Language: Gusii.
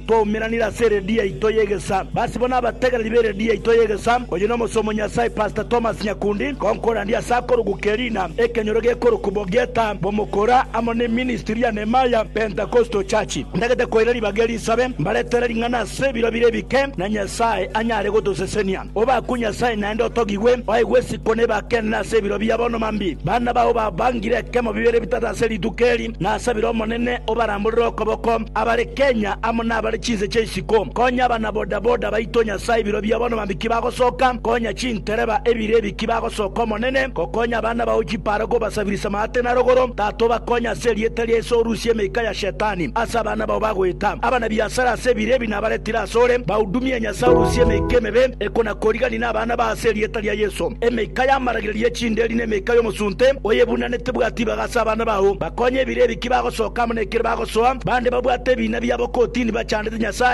Twaumeranire ase eredio yaito y'egesaa. Basi bono abategereri b'eredio yaito y'egesaa, oyio nomosomo Nyasae Pastor Thomas Nyakundi, konkorandia ase akorokwa Kerina, ekenyoro gekorokwa Bogeta, Bomokora, amo ne ministry ya Nehemiah Pentecostal Church. Ntagete koira ribaga eri nsabe mbaretere ring'ana ase ebiro bire ebike, na Nyasae anyare gotosesenia. Obakwe Nyasae naende otogigwe, oegwe esiko nebake enene ase ebiro bia bono mambia. Bana bao babangire ekemo bibere bitato ase rituko eri, nasabire Omonene obaramborere okoboko, abare Kenya amo nabare chinse chia isiko. Konya abana bodaboda baito Nyasae ebiro bia bono mambia ki bagosoka, konya chintereba ebiro ebi ki bagosoka Omonene, gokonya abana bao chipara kobasabirisa maate na rogoro, Tata obakonye ase erieta ria Yeso orusie emeika ya Shetani ase abana bao bagoeta. Abanabiasara ase ebiro ebi nabaretire asore, bahudumie Nyasae orusie emeika emebe ekona-korigani nabana bao ase erieta ria Yeso. Emeika y'amaragererio ye chinderi na emeika y'omosunte oyebunane tebwati ibaga ase abana bao. Bakonye ebiro ebi ki bagosoka amo nekero bagosoa, bande babwate ebiina biabo kotini bachandete Nyasae.